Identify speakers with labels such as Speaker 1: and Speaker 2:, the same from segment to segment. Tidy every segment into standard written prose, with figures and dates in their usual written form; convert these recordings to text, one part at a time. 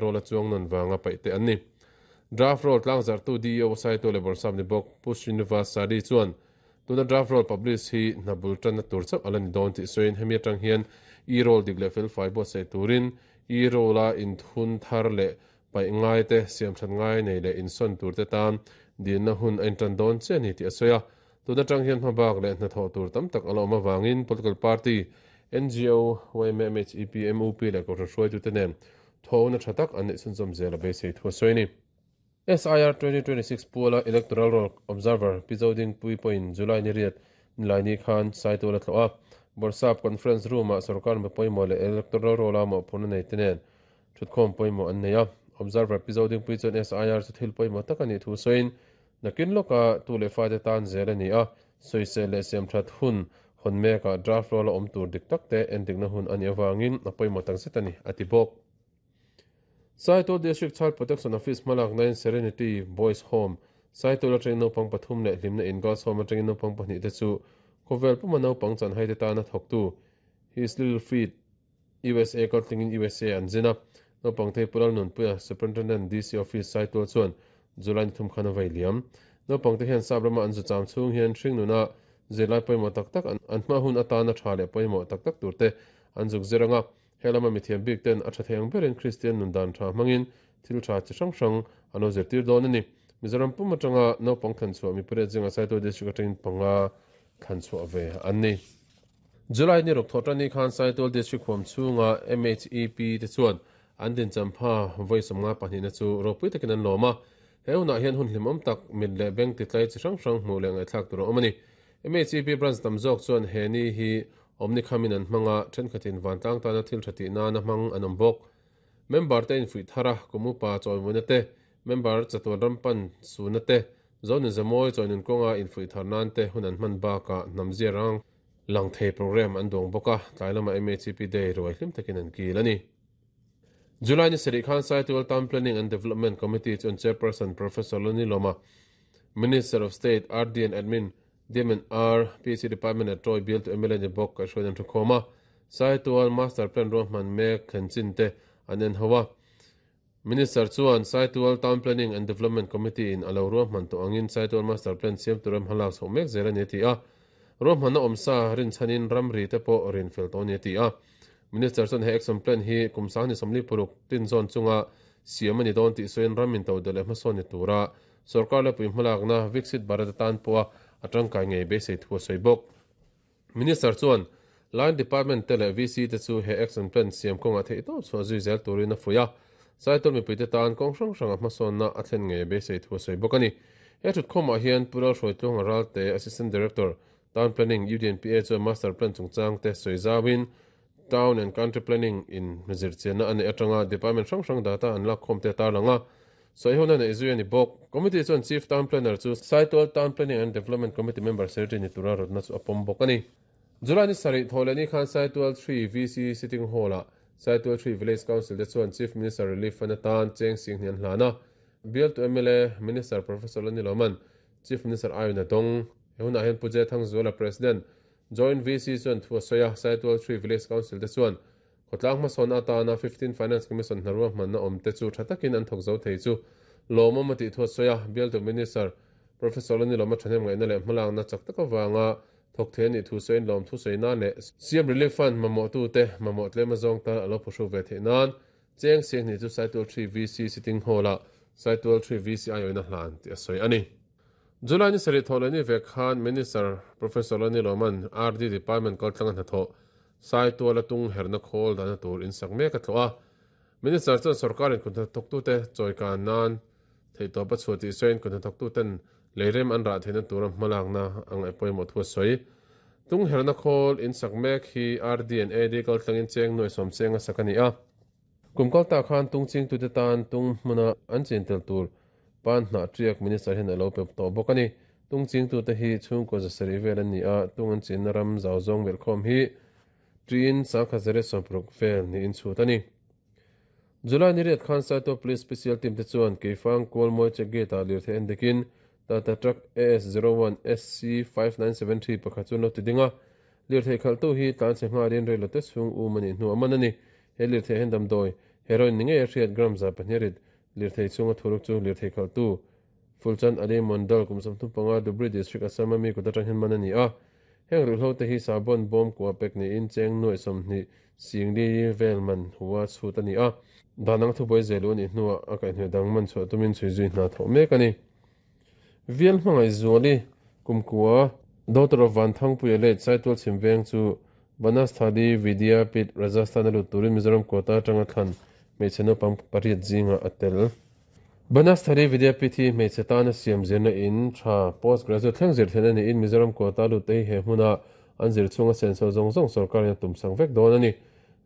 Speaker 1: Roll a chuang nawn vanga paih te an ni. Draft Roll tlangzarhtu DEO Saito leh Bawrhsap ni bawk Pu Srinivas Sadi chuan tuna Draft Roll publish hi hna bul tanna tur chauh a la ni dawn tih sawiin hemi atang hian e-roll dik leh felfai buatsaih turin e-roll a inthun thar leh paih ngai te, siamthat ngai nei leh insawn tur te tan dilna hun a intan dawn chiah a ni tih a sawi a. Tun atang hian hmabak leh hnathawh tur tam tak a la awm avangin political party, ngo, yma, MHEP, MUP leh Kohhran hruaitute nen thawhna tha tak an neih chhunzawm zel a beisei thu a sawi a ni. SIR 2026 puala Electoral Roll Observer Pi Zodingpui pawhin July ni riat Nilaini khan Saitual a tlawh a, Bawrhsap Conference Room-ah sorkar mi pawimawh leh Electoral Roll-a mawhphurhna nei te nen thutkhawm pawimawh an nei a. Observer Pi Zodingpui chuan SIR chu thil pawimawh tak a nih thu sawiin, Nakin lawka tu leh fate tan zel a ni a, sawisel leh siamthat hun hawn mekah draft roll a awm tur dik tak te endikna hun a nih avangin a pawimawh takzet a ni, a ti bawk. Saitual District Child Protection Office hmalaknain Serenity Boys Home, Saitual atangin naupang pathum leh Hlimna In Girls Home atangin naupang pahnih te chu khawvel puma naupang chanhaite tana thawktu His Little Feet USA kaltlingin USA an zin a, naupang thei Pu Lalnunpuia, Superintendent, DC Office, Saitual chuan July ni thum khan a vei liam. Naupangte hian sap rama an zu cham chhung hian hringnuna zirlai pawimawh tak tak an hma hun atana tha leh pawimawh tak tak turte an zuk zir anga he lama mithiam bik ten a tha thei ang berin Kristian nun dan tha hmangin thil tha chi hrang hrang an lo zirtir dawn a ni. Mizoram pum atanga naupang thlanchhuah mi pariat zinga Saitual District atangin panga thlanchhuah ve an ni. July ni ruk thawh tan khan Saitual District huam chhunga MHEP te chuan an dinchampha vawi 52na chu ropui takin an lawm a. He hunah hian hun hlimawm tak mit leh beng titlai chi hrang hrang hmuh leh ngaihthlak tur a awm a ni. MHEP branch tam zawk chuan he ni hi awmni khamin an hmang a, thenkhatin vantlang tana thil tha tih nana hmang an awm bawk. Member te infuih thar a, kum upa chawimawina te, member chatuan ram pan suna te, Zonin Zamawi chawinun kawnga infuih thar nan te hun an hman bakah hnam zia rang lang thei program an duang bawk a, tlai lama MHEP Day ruai hlim takin an kil a ni. July ni sarih khan Saitual Town Planning and Development Committee chuan Chairperson Professor Loni Lawma, Minister of State, RD and Admin, DMNR, PC Department leh Troy bialtu mla ni bawk kaihhruaiin an thukhawm a, Saitual Master Plan ruahman mek thlen chin te an en ho a. Minister chuan Saitual Town Planning and Development Committee in a lo ruahman tawh angin Saitual Master Plan siam tura hmalak chhoh mek zel a ni a ti a. Ruahmanna awmsa rinchhanin ramri te pawh rin fel tawh a ni a ti a. Minister chuan he action plan hi kum 2026 tin zawn chunga siam a ni dawn tih sawiin ram intodelh leh hmasawn ni tura sorkar lepui hmalakna Viksit Bharat atan pawha a tangkai ngei beisei thu a sawi bawk. Minister chuan Line Department te leh VC te chu he action plan siam kawngah theihtawp chhuah zui zel turin a fuih a, Saitual mipuite tan kawng hrang hranga hmasawnna a thlen ngei beisei thu a sawi bawk a ni. He thutkhawmah hian Pu Lalhruaitluanga Ralte, Assistant Director, Town Planning, UDNPA chuan Master Plan chungchang te sawi zauin Town and Country Planning in zirchianna a neih atanga Department hrang hrang data an lakkhawm te a tarlang a, Sawihona neih zui a ni bawk. Committee chuan Chief Town Planner chu Saitual Town Planning and Development Committee member Secretary ni tura rawtna chu a pawm bawk a ni. July ni sarih thawh leh ni khan Saitual 3 VC Sitting Hall-ah Saitual 3 Village Council te chuan Chief Minister Relief Fund atan cheng sing hnih an hlan a. Bialtu mla Minister Professor Lani Lawman Chief Minister aiin a dawng. He hunah hian Pu Jay Thangzuala President, Joint VC chuan thu a sawi a, Saitual 3 Village Council te chuan Khawtlang hmasawnna atana 15 Finance Commission hna ruahmanna awm te chu tha takin an thawk zo thei chu lawmawm a tih thu a sawi a, Bialtu Minister Professor Lani Lawma thahnem ngaihna leh hmalakna chak tak avanga thawk thei a nih thu sawiin lawm thu sawi nan leh CM Relief Fund mamawhtute mamawh tlem a zawng tan a lo phuhruk ve theih nan cheng sianghnih chu Saitual 3 VC Sitting Hall-ah Saitual 3 VC aiawina hlan tih a sawi a ni. July ni sarih thawh leh ni vek khan Minister Professor Lani Lawman RD Department kaltlanga hnathawh Saituala tung herna khawl dahna tur in sak mek a tlawh a. Minister chuan sorkarin kut hnathawktute chawikan nan theihtawp a chhuah tih sawiin kut hnathawktuten leirem an rah theihna tura hmalakna a ngaih pawimawh thu a sawi. Tung herna khawl in sak mek hi RD and AD kaltlangin cheng nuai sawm cheng a sak a ni a. Kum kal tak khan tung chingtute tan tung hmuna an chin tel tur pan hnah tiak Minister hian a lo pe tawh bawk a ni. Tung chingtute hi chhungkaw zasarih vel an ni a, tung an chinna ram zau zawng belhkhawm hi tiin 1160 vel niin chhut a ni. July ni riat khan Saitual Police Special Team te chuan Keifang Kualmawi Check Gate-ah lirthei en dekin Tata Truck AS01 SC5973 pakhat chu an lo ti ding a. Lirthei khalhtu hi tlanchhe nghalin reilote chhung um a nih hnu a man a ni. He lirthei hian damdawi, Heroin ni ngei a hriat gram 200 rit lirthei chhunga thuruk chu lirthei khalhtu Fulchand Ali Mondal kum 35 Dhubri District Assam a mi kut atang hian man a ni a. Heng ruihhlo te hi sabon bawm kua pek niin cheng nuaih 20 singli vel man hua chhut a ni a. Dan anga thubuai zelu a nih hnuah a kaihhnawih dang man chhuah tumin chhui zui hna thawh mek a ni. Vial hmangaih Zuali kumkua Daughter of Vanthangpuia late Saitual chhim veng chu Banasthali Vidyapith Rajasthan a lut turin Mizoram quota atanga thlan hmeichhe naupang pariat zingah a tel. Banasthali Vidyapith hi hmeichhe tana siam zirna in tha post graduate thleng zir theihna niin Mizoram quota lut te hi he hmuna an zir chhunga senso zawng zawng sorkarin a tumsang vek dawn a ni.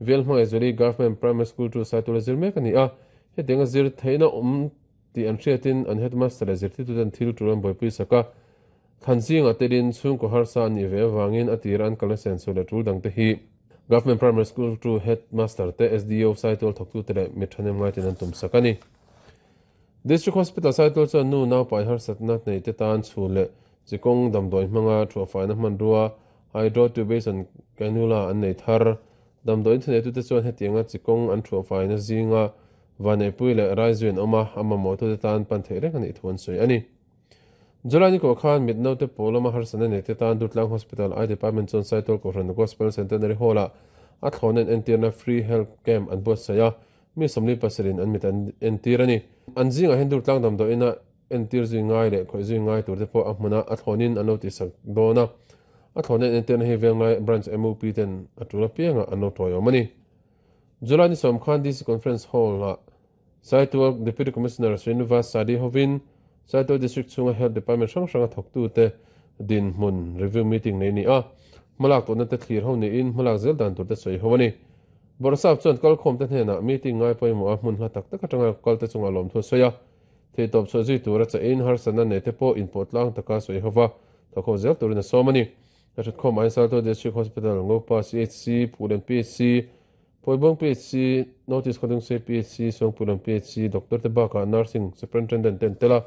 Speaker 1: Vial hmangaih Zuali Government Primary School chu Saitual a zir mek a ni a, hetianga zir theihna awm tih an hriatin an headmaster leh zirtirtuten thil tul an buaipui sak a, thlan zingah telin chhungkaw harsa an nih ve avangin a tira an kalna senso leh tul dangte hi Government Primary School tu headmaster te, SDO, Saitual thawktute leh mi thahnem ngaitin an tum sak a ni. District Hospital Saitual chuan nu naupai harsatna neite tan chhun leh chikawng damdawi hmanga thuahfaina hmanrua hydrotubation cannula an nei thar. Damdawi inthunetute chuan hetianga chikawng an thuahfaina zinga Vaneipui leh Raizui an awm a, a mamawhtute tan pan theih reng a nih thu an sawi a ni. July ni kawh khan mit naute pawl lama harsatna neite tan Durtlang Hospital Eye Department chuan Saitual Kohhran Gospel Centenary Hall-ah a thlawhna in entirna Free Health Camp an buatsaih a, mi 47 in an mit an entir a ni. An zingah hian Durtlang damdawiina entir zui ngai leh khawih zui ngai turte pawh a hmuna a thlawnin an lo tihsak dawn a, a thlawhna in entirna hi Venglai Branch MUP ten a tul apiangah an lo tawiawm a ni. July ni sawm khan DC Conference Hall-ah Saitual Deputy Commissioner Srinivas Sadi hovin Saitual District chhunga Health Department hrang hranga thawktute dinhmun review meeting nei a ni a, hmalak tawhna te thlir ho niin hmalak zel dan tur te sawi ho a ni. Bawrhsap chuan kalkhawmte hnenah meeting ngai pawimawh a hmun hla tak tak atanga kalte chungah lawmthu a sawi a, theihtawp chhuah zui tura chahin harsatna nei te pawh inpawh tlang taka sawi hova thawkho zel turin a sawm a ni. Ka hretkhawm aiin Saitual District Hospital, Ngopa CHC, Phulen PHC, Pawibawng PHC, North East Khawdungsei PHC, Suangpuilam PHC, Doctor te bakah Nursing Superintendent te an tel a,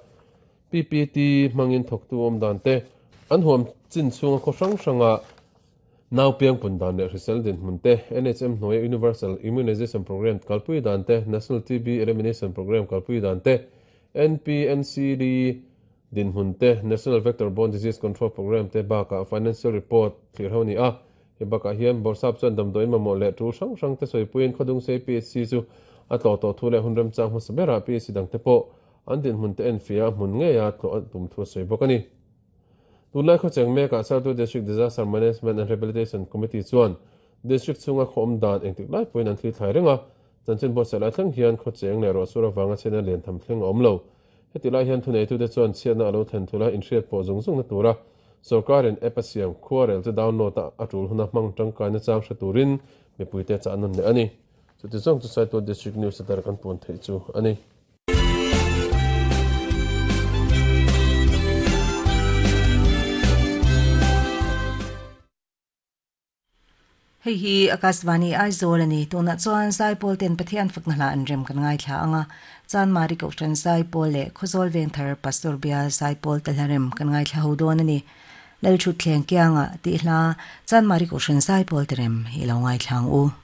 Speaker 1: PPT hmangin thawktu awm dan te, an huam chin chhunga khaw hrang hranga nau piang pun dan leh hrisel dinhmun te, NHM hnuaia Universal Immunization Programme kalpui dan te, National TB Elimination Programme kalpui dan te, NPNCD Dinhmun te, National Vector Borne Disease Control Programme te bakah Financial Report thlir ho a ni a. He bakah hian Bawrhsap chuan damdawiin mamawh leh tul hrang hrang te sawipuiin Khawdungsei PHC chu a tlawh tawh thu leh hun remchang hmasa berah PHC dang te pawh an dinhmun te enfiah a hmun ngeia tlawh a tum thu a sawi bawk a ni. Tunlai khawcheng mekah Saitual District Disaster Management and Rehabilitation Committee chuan District chhunga khaw awm dan engtik lai pawhin an thli thlai reng a, chanchin buatsaih lai thleng hian khawcheng leh ruahsur avanga chhiatna lian tham thleng a awm lo. Heti lai hian thuneitute chuan chhiatna a lo thlen thul a, inhriat pawh zung zungna tura sorkarin app a siam khuarel chu download a, a tul huna hmang tangkaina chang hre turin mipuite chah nawn leh a ni. Chuti zawng chu Saitual District News a dar kan puan theih chu a ni.
Speaker 2: Hei hi Akashvani Aizawl a ni. Tunah chuan Zaipawl ten Pathian fakna hla an rem kan ngaithla ang a. Chanmari Kohhran Zaipawl leh Khawzawl Vengthar Pastor Bial Zaipawl te hla rem kan ngaithla ho dawn a ni. Lalthutthleng kiangah tih hla Chanmari Kohhran Zaipawl te rem i lo ngaithla ang u.